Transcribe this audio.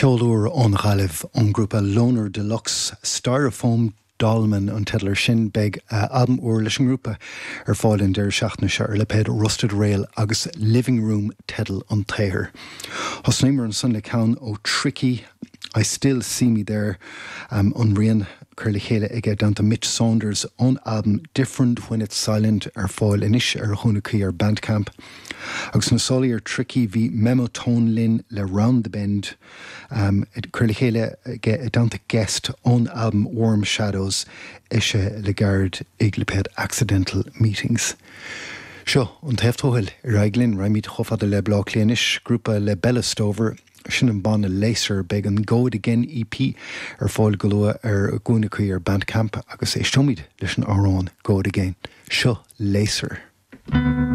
Ceol úr ón Ghaillimh, ón ngrúpa Loner Deluxe, Styrofoam Dolmen an teideal air sin. Beidh albam úr leis an ngrúpa ar fáil an deireadh seachtaine seo ar lipéad Rusted Rail agus Living Room teideal an tsaothair. Thosnaíomar ansan le ceann ó Tricky, I Still See Me There, an rian curtha le chéile aige i dteannta Mitch Saunders ón albam Different When It's Silent ar fáil anois ar a chúnamh cuí ar Bandcamp. Agus sna sálaí ar Tricky bhí Memo Tone linn le Round the Bend, curtha le chéile aige i dteannta Guest ón albam Warm Shadows, eisithe le gairid ag lipéad Accidental Meetings. Seo an taobh tuathail, ar aghaidh linn, raghaimid chomh fada le Baile Átha Cliath anois, grúpa le Bella Stover, sin an banna Laser, beidh an Go It Again EP ar fáil go luath ar a gcúinne cuí ar Bandcamp agus éisteoimid leis an amhrán Go It Again. Seo Laser.